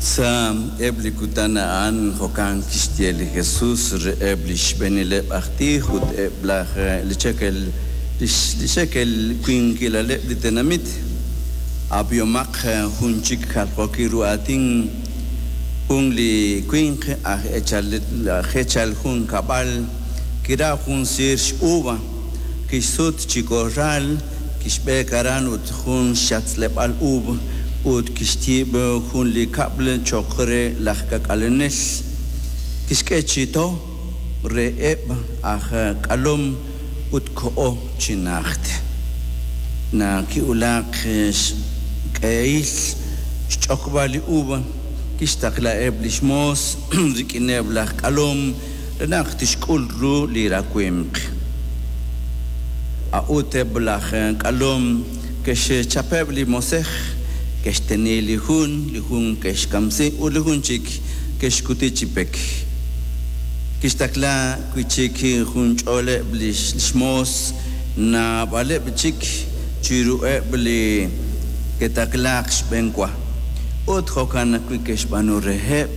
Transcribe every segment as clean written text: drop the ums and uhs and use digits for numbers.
Sa' eb' li kutan a'an jo'kan kixye li Jesus reheb' li xb'eenileb' aj tij ut eb' laj li cheekel li xekel winqilaleb' li tenamit: Ab'ihomaq jun chik jaljookil ru aatin. Jun li winq aj eechal jun kab'al kiraw jun siir x'uva, kixsut chi korral, kixb'eek aran ut jun xyatz'leb'aal uub' ut kixyiib' jun li kab'l cho'q re laj k'aak'alenel. Kixk'e chi to reheb' aj k'alom ut koho chi najt. Naq kiwulak xq'ehil xch'oqb'al li uva, kixtaqlaheb' li xmoos rik'ineb' laj k'alom re naq tixk'ul ru li rawimq. A'ut eb' laj k'alom ke'xchapeb' li moosej, ke'xteni li jun, li jun ke'xkamsi ut li jun chik ke'xkuti chi pek. Kixtaqla wi' chik jun ch'ooleb' li xmoos, naab'aleb' chik chiruheb' li ke'taqlaak xb'enwa, ut jo'kan ajwi' ke'xb'aanu reheb'.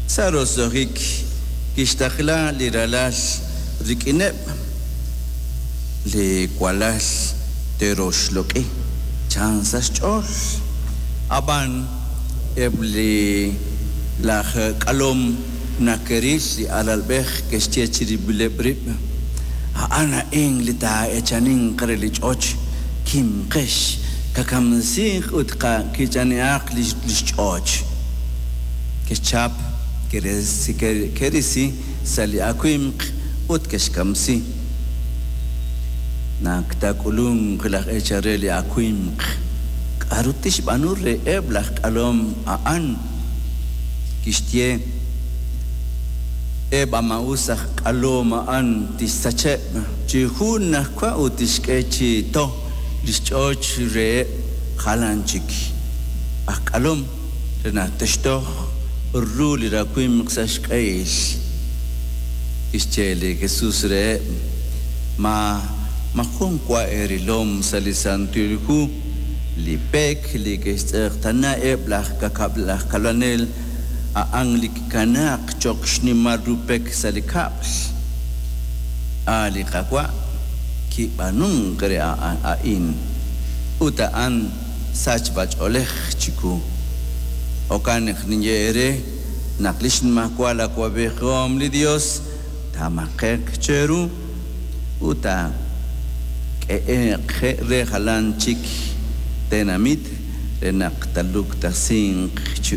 Sa' roso'jik kixtaqla li ralal rik'ineb'. Li walal te'roxloq'i, chan sa' xch'ool. Ab'an eb' li laj k'alom naq ke'ril li alalb'ej ke'xye chirib'ileb' rib', A'an a'in li taa'eechaninq re li ch'och, kimqex, qakamsiiq ut qakich'ani'aq li xch'och. Ke'xchap, ke'risi sa' li awimq ut ke'xkamsi. Naq taak'ulunq laj eechal re li awimq, k'aru tixb'aanu reheb' laj k'alom a'an? Kixye, Eb' a maa'us aj k'alom a'an tixsacheb' chi junajwa ut tixk'e chi to li xch'och reheb' jalan chik aj k'alom re naq te'xtoj ru li rawimq sa' xq'ehil. Kixye li Jesus reheb', Ma maajun wa eerilom sa' li Santil Hu li pek li ke'xtz'eqtaana eb' laj kab'lanel a'an li kikanaak cho'q xnimal ru pek sa' li kab'l? A' li Qaawa' kib'aanunk re a'in, ut a'an sachb'ach'oolej chiwu. Jo'kan naq ninye eere naq li xnimajwal awa'b'ejihom li Yos taamaqe'q cheru ut taak'ehe'q re jalan chik tenamit re naq taaluktasinq chi.